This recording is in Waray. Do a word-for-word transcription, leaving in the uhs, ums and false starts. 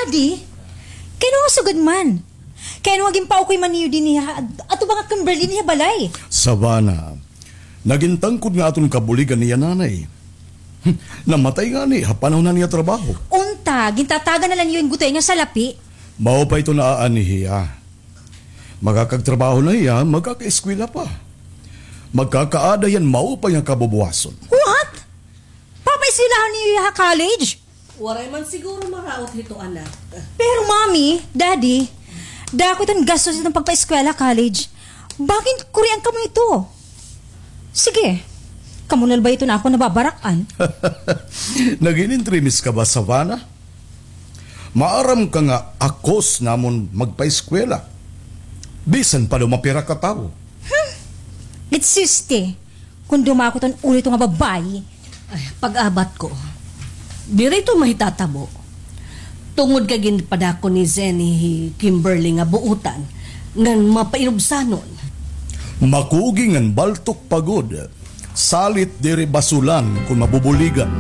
Adi, kay ano nga sugad man? Kay ano nga ginpaukoy man niyo dinhi ha, ato ba nga Kimberly niya balay? Savannah, nagin tangkod nga aton kabuligan niya nanay. Namatay ngani ha panahon na niya trabaho. Unta, gintatagan na la niyo hin gutay nga salapi. Maupay ito na ani hiya. Makakagtrabaho na hiya, magkakaeskwela pa. Magkakaada hiya hin maupay nga kabubuwason. What? Papaeskwelahon niyo hiya ha college? Waray man siguro maraot hito, anak. Pero, Mommy, Daddy, dako iton gastos iton pagpaeskwela, college. Bangin kurian kamo ito. Sige, kamo na la ba iton akon nababarak-an? Nagin-intrimis ka ba, Savannah? Maaram ka nga akos namon magpaeskwela. Bisan pa daw mapira ka tawo. Gitsuste, kon dumako iton ulo hito nga babaye. Ay, pag-abat ko, diri ito mahitatabo. Tungod kay ginpadako ni Zenny hi Kimberly nga buotan ngan mapainubsanon. Makugi ngan baltok pa gud. Salit diri basulan kon mabubuligan.